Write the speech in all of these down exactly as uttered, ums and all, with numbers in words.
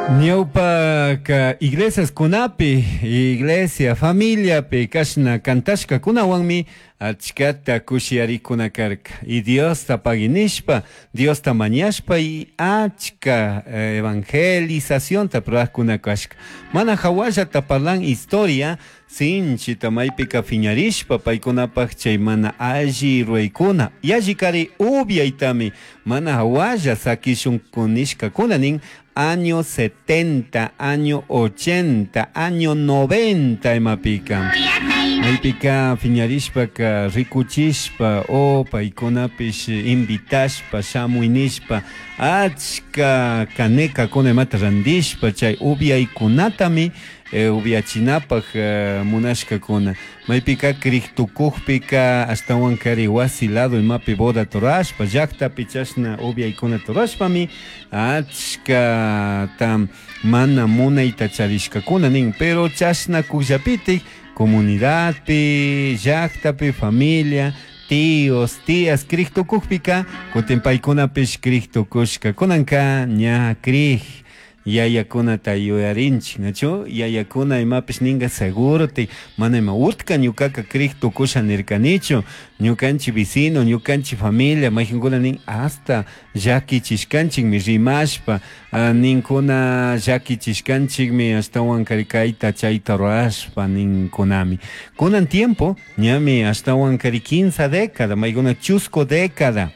Ñawpaka iglesiaskunapi, iglesia, familiapi kashna kantashkakunawanmi achkata kushiyarikuna karka. Y Diosta pagui nishpa, Diosta mañashpa y achka evangelizacionta rurajkuna kashka. Mana hawallata parlan historia sinchita maypika phiñarishpa paykunapaj chay mana alli ruraykuna yallikari upiaytami mana hawalla sakishun nishkakuna nin año setenta, año ochenta, año noventa imapika. Maypika phiñarishpaka rikuchishpa o paykunapish invitashpa shamuy nishpa achka kanekakuna imata randishpa chay upiaykunatami eh, upiachinapaj eh, munashkakuna. Maypika kriktukukpika ashtawan kari wasi lado imapi boda rurashpa llaktapi chashna upiaykunata rurashpami achkata mana munayta charishkakuna nin, pero chashna kukllapitik comunidadpi, llaktapi, familia, tíos, tías kriktukukpika kutin paykunapish kriktukushka kunanka ña krik yayakunata yuyarinchik, nachu yayakuna imapish ninga seguro ti mana ima utka ñukaka krik tukusha nirkanichu ñukanchik vecino, ñukanchik familia mayqinkuna nin hasta llakichishkanchikmi rimashpa ninkuna llakichishkanchikmi ashtawan kari kayta chayta rurashpa ninkunami. Kunan tiempo ñami ashtawan kari quince década maykuna chusku década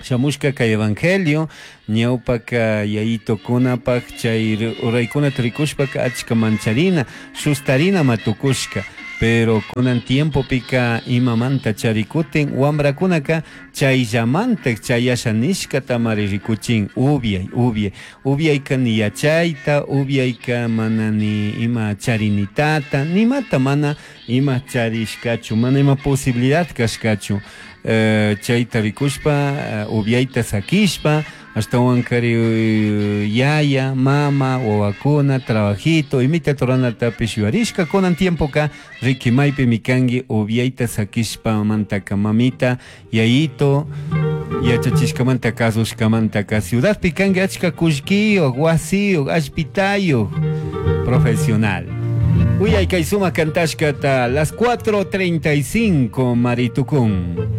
shamushka kay evangelio ñawpaka yayitukunapaj chay ruraykunata rikushpaka achka mancharina sustarina matukushka, pero kunan tiempopika imamanta charikutin wambrakunaka chayllamantak chayasha nishkatamari rikuchin upiay upiay upiayka ni yachayta upiayka mana ni ima charinitata nimata mana ima charishkachu mana ima posibilidad kashkachu. Eh, chayta rikushpa uh, upiayta sakishpa ashtawan kari yaya, mama, wawakuna, trabajito, imita ruranatapish yuyarishka kunan tiempoka riki maypimi kanki upiayta sakishpa mantaka mamita, yayito yachachishkamanta kasushkamantaka ciudadpi kanki achka kullkiyuq, wasiyuq, allpitayuq, profesional. Uyay kay sumak kantashkata las cuatro treinta y cinco maritukun.